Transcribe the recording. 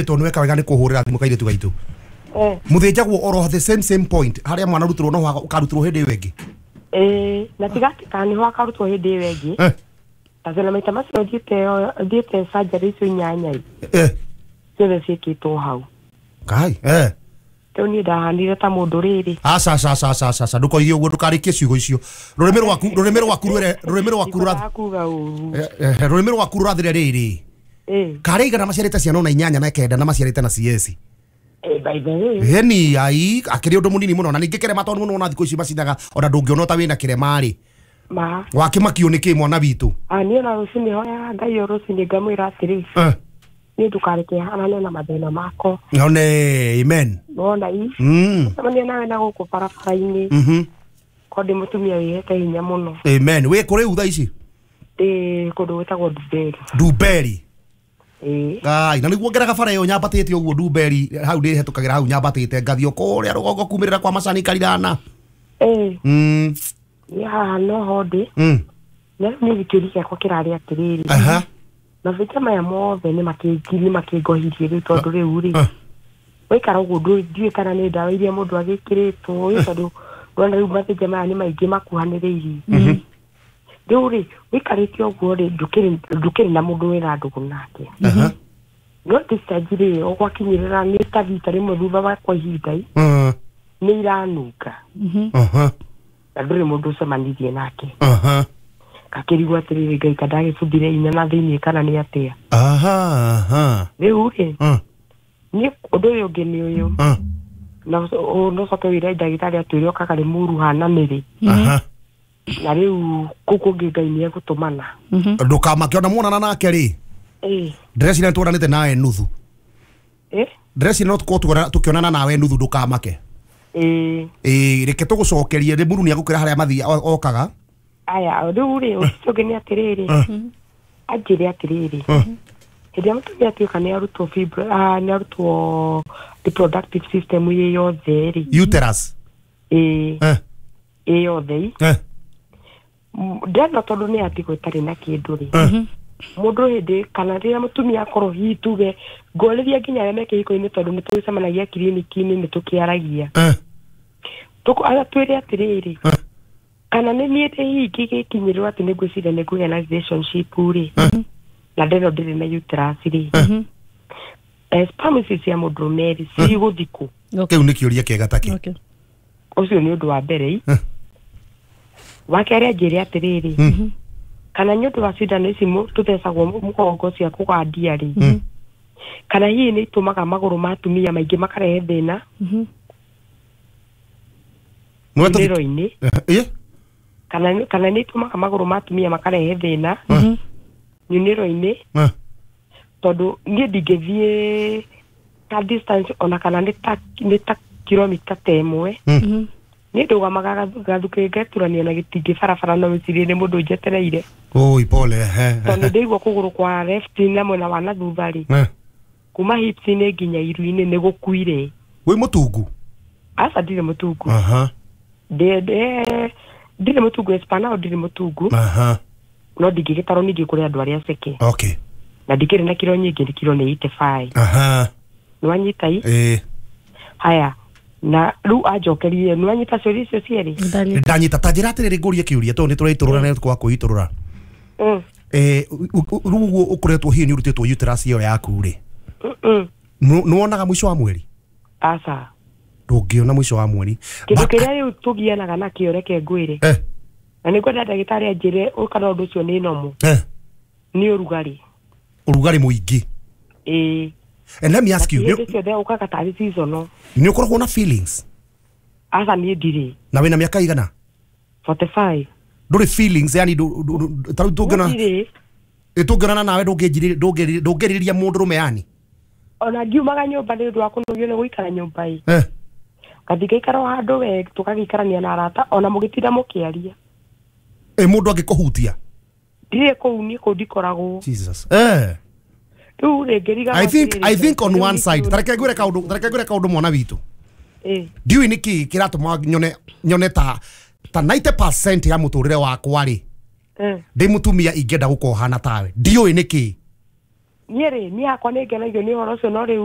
Tondũ nĩweka wega nĩ kũhũrĩra thimũ kairĩtu gaitũ. Mũthĩnjagwo oro the same point harĩa mwana arutirwo, no ũkarutirwo hĩndĩ ĩyo ĩngĩ. Ĩĩ, na tiga atĩ kana nĩho akarutwo hĩndĩ ĩyo ĩngĩ. Tondũ maita macio thiĩte surgery icio 8 ĩ, ciothe ciĩkĩtwo hau. Kai. Rĩu niĩ ndahanire ta mũndũ rĩrĩ. Aca aca aca aca aca aca, ndũkoige ũguo, ndũkarĩkie ciugo icio. Rũrĩmĩ rwaku rwĩre, rũrĩmĩ rwaku Ndikwendaga kuga ũru. Rũrĩmĩ rwaku rũrathire rĩrĩ. Karĩ igana maciarĩte ciana ona 8 na 9 na maciarĩte na CS. By the way. Heni ai akĩrĩ ũndũ mũnini mũno, na ningĩ kĩrema tondũ mũno ona thikũ ici macinaga ona ndũngĩona ta wĩna kĩrema rĩ. Ma. Wakĩmakio nĩ kĩ mwana witũ? Niĩ ona rũcinĩ hoyaga Ngai o rũcinĩ ngamwĩra atĩrĩ. Niĩ ndũkareke hanane na mathĩna makwa. One amen. Wona i. Cemania nawe na gũkũ barabara-inĩ. Ko ndĩ mũtumia wĩhete hinya mũno. Amen. Wĩ kũ rĩu thaa ici? Ndĩ kũndũ gwĩtagwo Ndumberi. Ndumberi. Ĩĩ. Ai, na nĩguo ngeraga bara ĩyo nyambatĩte ũguo Ndumberi, hau ndĩhetũkagĩra hau nyambatĩte ngathiĩ kũrĩa rũgongo kumĩrĩra kwa Macani Karirana. Niĩ haha noho ndĩ. Na rĩu niĩ kĩũria gĩakwa kĩrarĩ atĩrĩrĩ. Mabĩtia maya mothe nĩ makĩngohirie rĩu tondũ rĩu rĩ, waikara ũguo ndiũĩ kana nĩ ndawa iria mũndũ agĩkĩrĩtwo ĩ, tondũ ndona rĩu mabĩtia maya nĩ maingĩ makuhanĩrĩirie. Rĩu rĩ, wĩikarĩte ũguo rĩ, ndũkĩrĩ na mũndũ wĩna ndũgũ nake. No discharge rĩ, o gwakinyĩrĩra nĩ ta rita rĩmwe thutha wa kwa ihinda ĩ, nĩ iranunga. Na ndũrĩ mũndũ ũcemanirie nake. Gakĩrigwo atĩrĩrĩ, Ngai ta ndagĩbuthire inya na thĩiniĩ kana nĩ atĩa. Rĩu rĩ, niĩ ũndũ ũyũ ũngĩ nĩ ũyũ. Na no ũcoke wĩre ndagĩtarĩ atwĩre okaga rĩ mũru hana nĩrĩ. Na rĩu kũu kũngĩ Ngai nĩ egũtũmana. Ndũkamake ona muonana nake rĩ. Ndĩreciria nĩtuonanĩte nawe nuthu. Ndĩreciria no tũkorwo tũkĩonana nawe nuthu, ndũkamake. Reke tũgũcokerie rĩ, mũru nĩ egũkwĩra harĩa mathi okaga. Aya, rĩu rĩ, ũcio ũngĩ nĩ atĩrĩrĩ. Anjĩre atĩrĩrĩ. Hĩndĩ ĩrĩa mũtumia atuĩka nĩ arutwo fibro, nĩ arutwo reproductive system ĩ yothe rĩ. Uterus. Ĩ yothe. Ndĩrona tondũ nĩ atigwo ĩtarĩ na kĩndũ rĩ. Mũndũ hĩndĩ kana rĩrĩa mũtumia akorwo hihi tuge ngorĩria nginya arĩa me kĩhiko-inĩ tondũ nĩ tũgĩcemanagia kiriniki-inĩ nĩ tũkĩaragia. Twĩre atĩrĩrĩ. Kana nĩ niĩ ndĩ hihi ingĩgĩkinyĩrĩrwo atĩ nĩ ngwĩciria nĩ ngũgĩa na relationship rĩ. Na ndĩno ndĩrĩ na uterus rĩ. Sperm ici cia mũndũrũme rĩ, cigũthiĩ kũ? Kĩu nĩ kĩũria kĩega ta kĩ. Ũcio nĩ ũndũ wa mbere. Wa kerĩ anjĩre atĩrĩrĩ. Kana nĩ ũndũ wa cindano ici tũthecagwo mũgongo cia kũgandia rĩ. Kana hihi nĩ itũmaga magũrũ ma atumia maingĩ makarehe thĩna. Mĩro-inĩ. Kana nĩ itũmaga magũrũ ma atumia makarehe thĩna. Nyunĩro-inĩ. Tondũ niĩ ndingĩthiĩ ta distance ona kana nĩ ta kilomita ta ĩmwe. Niĩ ndũgamaga gathukĩ ngeturania na gĩtingĩ barabara no wĩcirie nĩ mũndũ njetereire. Oi, pole. Tondũ ndĩigua kũgũrũ kwa left na mwena wa na thutha rĩ. Kuma hips-inĩ nginya iru-inĩ nĩ gũkuire. Wĩ mũtungu? Aca, ndirĩ mũtungu. Ndirĩ mũtungu, espana ndirĩ mũtungu. No ndingĩgĩtarwo ningĩ kũrĩ andũ arĩa ceke. Na ndikĩrĩ na kiro nyingĩ, nĩ kiro nĩ 85. Nĩwanyita i? Haya. Na rĩu anjokerie, nĩwanyita ciũria icio cierĩ? Ndanyita. Ta njĩra atĩrĩrĩ, ngũrie kĩũria tondũ nĩtũraitũrũra na nĩtũkwaga kwĩitũrũra. Rĩu ũguo ũkoretwo hihi nĩũrutĩtwo uterus ĩyo yaku rĩ, nĩwonaga mũico wa mweri? Aca. Ndũngĩona mũico wa mweri. Kĩndũ kĩrĩa rĩu tũgianaga nakĩo reke ngwĩre. Na nĩngwenda ndagĩtarĩ anjĩre kana ũndũ ũcio nĩ normal. Nĩ ũrugarĩ. Ũrugarĩ mũingĩ. And let me ask you, hĩndĩ ciothe ũkaga tarĩ seasonal. Nĩ ũkoragwo na feelings? Aca, niĩ ndirĩ. Na wĩna mĩaka igana? 45. Ndũrĩ feelings, yani ta rĩu tũngĩona Ndirĩ. Tũngĩonana nawe ndũngĩrirĩria mũndũrũme yani? Ona ngiumaga nyũmba nĩ ũndũ wa kũnogio nĩ gũikara nyũmba ĩ. Ngathiĩ ngaikara o handũ we tũgagĩikarania na arata ona mũgĩtinda mũkĩaria. Mũndũ angĩkũhutia? Ndirĩ kũu, niĩ kũu ndikoragwo. Jesus. Rĩu rĩ, ngĩriganĩrwo I think on one side, tareke ngwĩre kaũndũ, tareke ngwĩre kaũndũ mwana witũ. Ndiũĩ nĩkĩ kĩratũma nyone ta 90% ya mũtũrĩre wakwa rĩ. Ndĩ mũtumia ingĩenda gũkorwo hana tawe. Ndiũĩ nĩkĩ. Niĩ rĩ, niĩ hakwa nĩ ngenagio nĩ ũhoro ũcio, no rĩu.